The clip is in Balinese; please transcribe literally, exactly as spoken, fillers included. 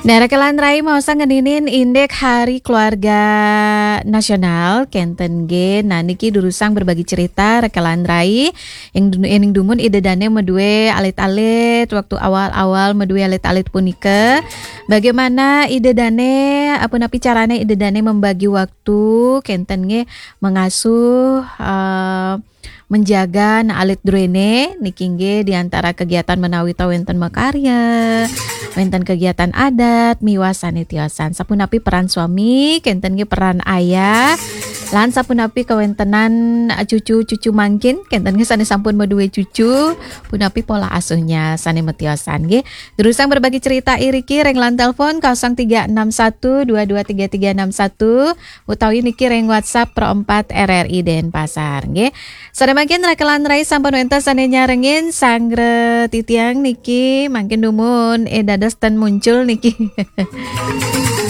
Nah, Raka lan Rai maosang ngeninin indik Hari Keluarga Nasional, kenten nggih. Nah, niki durusang berbagi cerita, Raka lan Rai. Ing dun-, ening dumun Ida Dane medue alit-alit, waktu awal-awal medue alit-alit punika. Bagaimana Ida Dane, apa napi carane Ida Dane membagi waktu, kenten nggih, mengasuh, eh, menjaga nah alit druene niki nggih di antara kegiatan menawi ta wenten makarya, wenten kegiatan adat, miwah sane tiosan. Sapunapi peran suami, kenten nggih peran ayah, lan sapunapi kawentenan, eh, cucu-cucu mangkin, kenten nggih sane sampun madue cucu, punapi pola asuhnya sane matiosan nggih. Durusang berbagi cerita iriki ring lan telepon kosong tiga enam satu dua dua tiga tiga enam satu utawi niki ring WhatsApp Pro empat R R I Denpasar nggih. Sane mangkin Raka lan Rai sampun wenten sane nyarengin sanggra titiang niki mangkin dumun eh dados ten muncul niki.